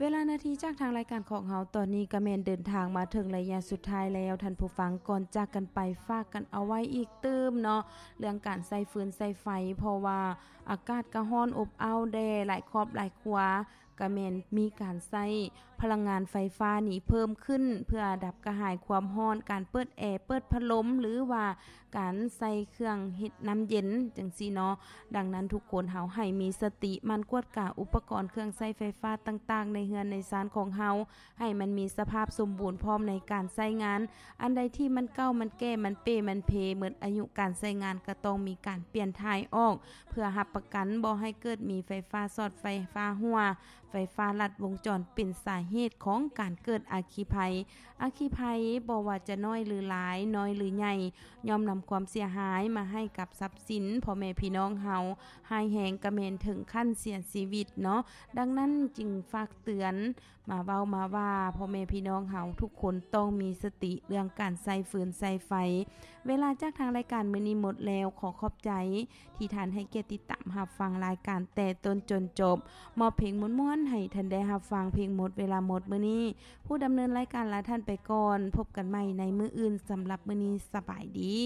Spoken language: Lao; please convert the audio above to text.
ເວລານາທີຈາກທາງລາຍການຂອງເຮົາຕອນນີ້ກະແມ່ນເດີນທາງມາເຖິງໄລຍະສຸດທ້າຍແລ້ວ. ທ່ານຜູ້ຟັງ, ກ່ອນຈາກກັນໄປ, ຝາກກັນເອົາໄວ້ອີກຕື່ມເນາະ ເລື່ອງການໃຊ້ຟືນໃຊ້ໄຟ, ເພາະວ່າອາກາດກະຮ້ອນອົບອ້າວແດ່, ຫຼາຍຄອບຫຼາຍຄົວກະແມ່ນມີການໃຊ້ພະລັງງານໄຟຟ້ານີ້ເພີ່ມຂຶ້ນ ເພື່ອດັບກະຫາຍຄວາມຮ້ອນ, ການເປີດແອ, ເປີດພັດລົມ ຫຼືວ່າ ການໃສ່ເຄື່ອງເຮັດນ້ຳເຢັນຈັ່ງຊີ້ເນາະ. ດັ່ງນັ້ນທຸກຄົນເຮົາໃຫ້ມີສະຕິ ໝັ່ນກວດກາອຸປະກອນເຄື່ອງໃຊ້ໄຟຟ້າຕ່າງໆ ໃນເຮືອນໃນຊານຂອງເຮົາ ໃຫ້ມັນມີສະພາບສົມບູນພ້ອມໃນການໃຊ້ງານ. ອັນໃດທີ່ມັນເກົ່າ, ມັນແກ່, ມັນເປ, ມັນເພ, ໝົດອາຍຸການໃຊ້ງານ ກໍຕ້ອງມີການປ່ຽນຖ່າຍອອກ ເພື່ອຮັບປະກັນບໍ່ໃຫ້ເກີດມີໄຟຟ້າຊັອດ, ໄຟຟ້າຮົ່ວ, ໄຟຟ້າລັດວົງຈອນ ເປັນສາເຫດຂອງການເກີດອັກຄີໄພ. ອັກຄີໄພບໍ່ວ່າຈະນ້ອຍຫຼືຫຼາຍ, ນ້ອຍຫຼືໃຫຍ່, ຍ່ອມນຳຄວາມເສຍຫາຍມາໃຫ້ກັບຊັບສິນພໍ່ແມ່ພີ່ນ້ອງເຮົາ, ຮ້າຍແຮງກະແມ່ນເຖິງຂັ້ນເສຍຊີວິດເນາະ. ດັ່ງນັ້ນຈຶ່ງຝາກເຕືອນມາເວົ້າມາວ່າ ພໍ່ແມ່ພີ່ນ້ອງເຮົາທຸກຄົນຕ້ອງມີສະຕິເລື່ອງການໃຊ້ຟືນໃຊ້ໄຟ. ເວລາຈາກທາງລາຍການມື້ນີ້ໝົດແລ້ວ, ຂໍຂອບໃຈທີ່ທ່ານໃຫ້ກຽດຕິດຕາມຮັບຟັງລາຍການແຕ່ຕົ້ນຈົນຈົບ. ມອບເພງມ່ວນໆໃຫ້ທ່ານໄດ້ຮັບຟັງເພງໝົດເວລາໝົດມື້ນີ້. ຜູ້ດຳເນີນລາຍການລາທ່ານໄປກ່ອນ, ພົບກັນໃໝ່ໃນມື້ອື່ນ. ສຳລັບມື້ນີ້ສະບາຍດີ.